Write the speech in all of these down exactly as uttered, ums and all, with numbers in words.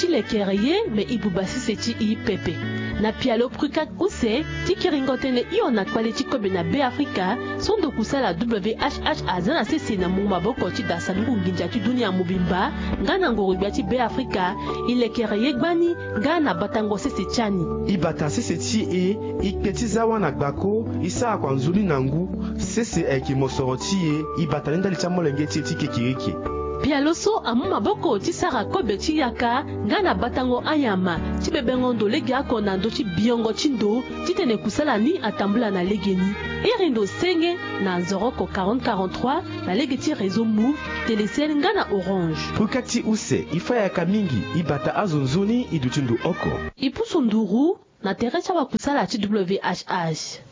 Lekere ye me e buba sese ti e pepe. Na pialo Prukat use ti kiringo tënë hio na kpale ti kobe na Beafrika, so ndo kusala W H H aza na sese na mungo maboko ti da sanduku nginza ti dunia mobimba nga na ngoro-gbia ti Beafrika, e lekere ye gbani nga na batango sese ti ani. E bata sese ti e, e kpe ti za wâ na gbako, e sara kua nzoni na ngu. Sese ayeke mosoro ti e, e bata ni ndali ti amolenge ti e ti kekereke. Pialo so amu maboko ti sara kobe ti yaka nga na batango anyama ti bebengo ndo legeoko na ndö ti biongo ti ndo titene kusala ni atambula na legeni. Iri ndo senge na nzoroko quarante quarante-trois na lege ti réseau Moov, Telecel nga na Orange. Prukat use, e fâ yaka mingi, e bata azo nzoni, e duti ndo oko. E pusu nduru na tere ti awakusala ti W H H.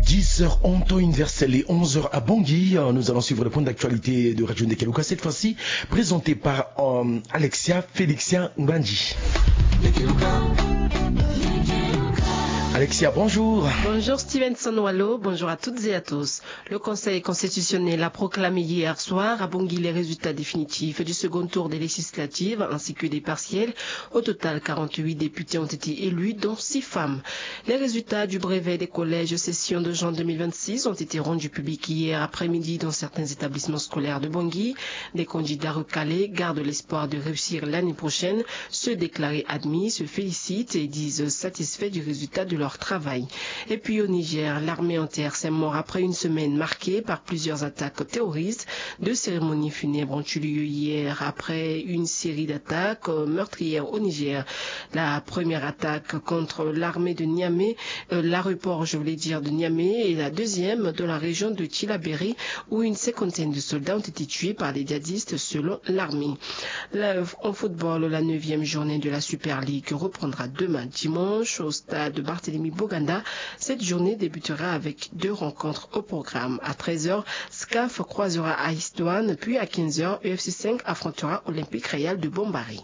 Dix heures en temps universel et onze heures à Bangui. Euh, nous allons suivre le point d'actualité de Radio Ndekeluka, cette fois-ci présenté par, euh, Alexia Félixia Ngbandi. Alexia, bonjour. Bonjour Stevenson Wallo, bonjour à toutes et à tous. Le Conseil constitutionnel a proclamé hier soir à Bangui les résultats définitifs du second tour des législatives ainsi que des partielles. Au total, quarante-huit députés ont été élus, dont six femmes. Les résultats du brevet des collèges session de juin deux mille vingt-six ont été rendus publics hier après-midi dans certains établissements scolaires de Bangui. Des candidats recalés gardent l'espoir de réussir l'année prochaine. Ceux déclarés admis se félicitent et disent satisfaits du résultat de leur travail. Et puis au Niger, l'armée enterre ses morts après une semaine marquée par plusieurs attaques terroristes. Deux cérémonies funèbres ont eu lieu hier après une série d'attaques, euh, meurtrières au Niger. La première attaque contre l'armée de Niamey, euh, l'aéroport, je voulais dire, de Niamey, et la deuxième dans la région de Tillabéri, où une cinquantaine de soldats ont été tués par les djihadistes, selon l'armée. La, en football, la neuvième journée de la Super League reprendra demain dimanche au stade Barthélemy Boganda. Cette journée débutera avec deux rencontres au programme. À treize heures, SCAF croisera AS Douanes, puis à quinze heures, U F C cinq affrontera Olympique Royal de Bombari.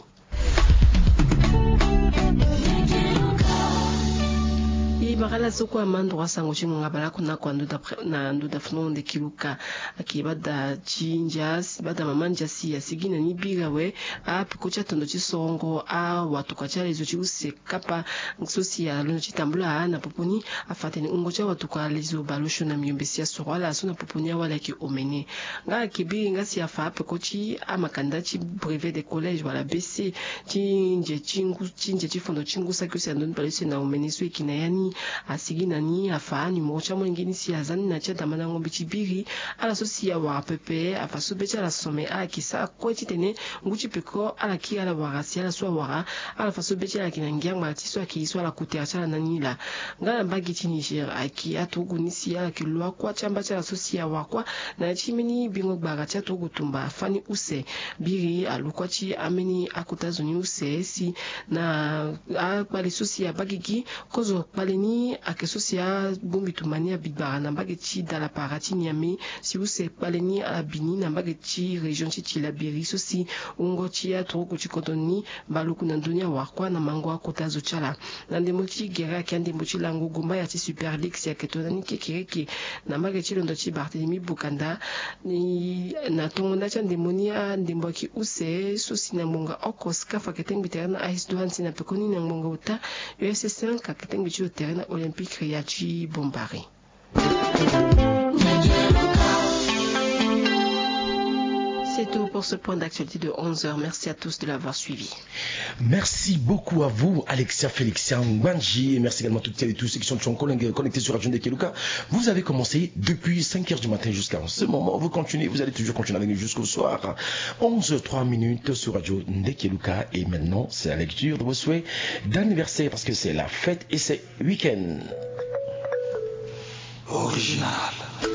E bara ala so kue amandoro asango ti ngonga baleoko na kua ndo da pre-, na ndo da fano Ndekeluka. Ayeke bada ti ndia si, bada mama ndia si asigi na ni biri awe, apeko ti atondo ti sorongo awatuka ti alezo ti use kapa so si alondo ti tambula na popo ni. Afa atene wungo ti awatuka alezo baleosio na miombe si asoro ala so na popo ni awali ayeke omene. Nga ayeke biri nga si afa apeko ti amakanda ti brevet de collège wala B C ti nze ti ngu, ti nze ti fondo ti ngu saki use na ndoni baleuse na omene so e yeke na ya ni. Asigi na ni afa animero ti amolenge ni si aza ni na ti adamandango mbi ti biri ala so si awara pepe, afa so be ti ala some, ala yeke sara kue titene ngu ti peko ala kiri ala wara si ala so awara, ala fa so be ti ala ayeke na ngiangba ti so ayeke ye so ala kutere ti ala na ni laa. Nga na mbage ti Niger ayeke aturugu ni si ala yeke lo akua ti amba ti ala so si awara kua na ya ti mbeni bingo gbara ti aturugu tumba fani use. Biri alu kua ti ambeni akota zo ni use si na akpale so si abaa gigi. Kozo kpale ni ayeke so si abongbi tumba ni abi gbara na mbage ti dalapara ti Niamey, si use kpale ni abi ni na mbage ti région ti Tillabéri so si wungo ti aturugu ti kodro ni baleoku na ndö ni awara kua na mango akota zo ti ala. Na ndembo ti gere ayeke andembo ti lango gombaya ti Super League si ayeke tongana ni kekereke na mbage ti londo ti Barthélemy Boganda. Ni na tongo nda ti andembo ni andembo ayeke use so si na ngbonga oko SCAF ayeke tengbi tere na AS Douanes si na pekoni na ngbonga ota U F C cinq ayeke tengbi ti lo tere na Olympique Royal ti Bombari. C'est tout pour ce point d'actualité de onze heures. Merci à tous de l'avoir suivi. Merci beaucoup à vous, Alexia Félixia Ngbandi, et merci également à toutes celles et tous ceux qui sont toujours connectés sur Radio Ndekeluka. Vous avez commencé depuis cinq heures du matin jusqu'à ce moment. Vous continuez, vous allez toujours continuer avec nous jusqu'au soir. Onze heures trois minutes sur Radio Ndekeluka. Et maintenant, c'est la lecture de vos souhaits d'anniversaire parce que c'est la fête et c'est week-end. Original.